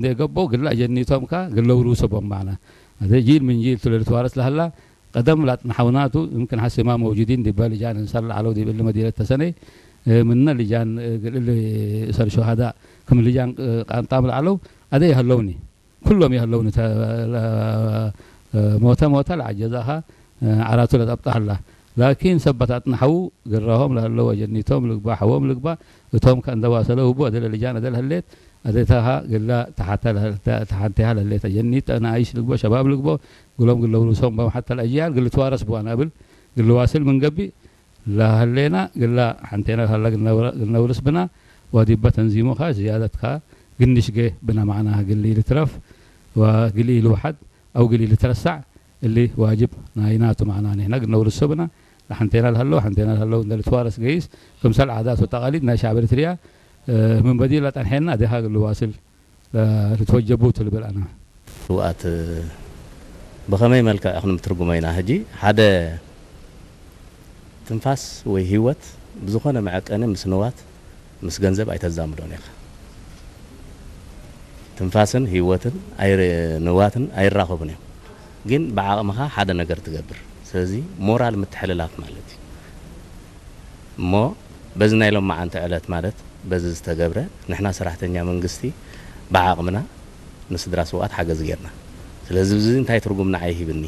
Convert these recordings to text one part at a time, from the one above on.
እንደገባው ግላ ጀኒቶም ካ ግለው ሩሰቦም معنا هذا جيل من جيل ትለል ተዋረስ ለሃላ ቀደም ላጥንሓውናቱ يمكن حسي ما موجودين ዲባ ልጃን እንሳላ ዓለው ዲብል መዲነት ተሰነይ ምነ ልጃን ግልል እሰር ሸሃዳ ከም ልጃን ቃንጣም ለዓለው ኣደ ይሃለውኒ ኩሎም ይሃለውኒ ተ- ለ- ሞተ ሞተ ለዓጀዛኻ ዓራቱ ለጠብጣሃላ ላኪን ሰባት ኣጥንሓው ግራሆም ለሃለው ኣጀኒቶም ልግባ ሓዎም ልግባ እቶም ከእንደዋሰለ ህቡ ኣደለ ልጃን ኣደለ ህሌት ኣደታሃ ግላ ተሓንቴሃ ለህሌት ኣጀኒት ጠናይሽ ልግቦ ሸባብ ልግቦ ግሎም ግለው ሩሶም በም ሓታ ለኣጅያል ግል ተዋረስ ብዋን ኣብል ግል ዋስል ምን ገቢ ለሃሌና ግላ ሓንቴና ለሃላ ግነውርስ ብና ዋዲባ ተንዚሙኻ ዝያደትካ ግንሽጌ ብና معنا ግሊ ልትረፍ ወግሊ ልውሓድ ኣው ግሊ ልትረሳዕ እሊ ዋጅብ ናይናቱ معنا ንሕና ግነውርሶ ብና ሓንቴና ለሃለው ሓንቴና ለሃለው እንደ ልትዋረስ ገይስ ክምሰል ዓዳት ወተቃሊድ ናይ ሻዕብ ኤርትርያ ምን በዲላ ጠንሐና ደሃ ግል ዋስል ልትወጀቡ ትልብል ኣና ስውኣት ብኸመይ መልክዕ ክንትርጉሞ ኢና? ሕጂ ሓደ ትንፋስ ወይ ህይወት ብዝኾነ መዐቀኒ ምስ ንዋት ምስ ገንዘብ ኣይተዛምዶን ኢኻ። ትንፋስን ህይወትን ኣይር- ንዋትን ኣይራኸቡን እዮም። ግን ብዓቕምኻ ሓደ ነገር ትገብር። ስለዚ ሞራል ምትሕልላፍ ማለት እዩ። እሞ በዚ ናይ ሎማዓንቲ ዕለት ማለት በዚ ዝተገብረ ንሕና ሰራሕተኛ መንግስቲ ብዓቕምና ንስድራ ስውኣት ሓገዝ ጌርና። ስለዚ እዚ እንታይ ትርጉም ንዓይ ሂብኒ?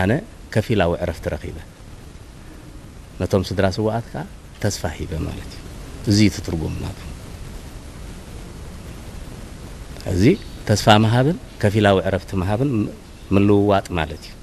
ኣነ ከፊላዊ ዕረፍቲ ረኺበ። ነቶም ስድራ ስውኣት ከኣ ተስፋ ሂበ ማለት እዩ። እዚ እዩ እቲ ትርጉም ናቱ። እዚ ተስፋ ምሃብን ከፊላዊ ዕረፍቲ ምሃብን ምልውዋጥ ማለት እዩ።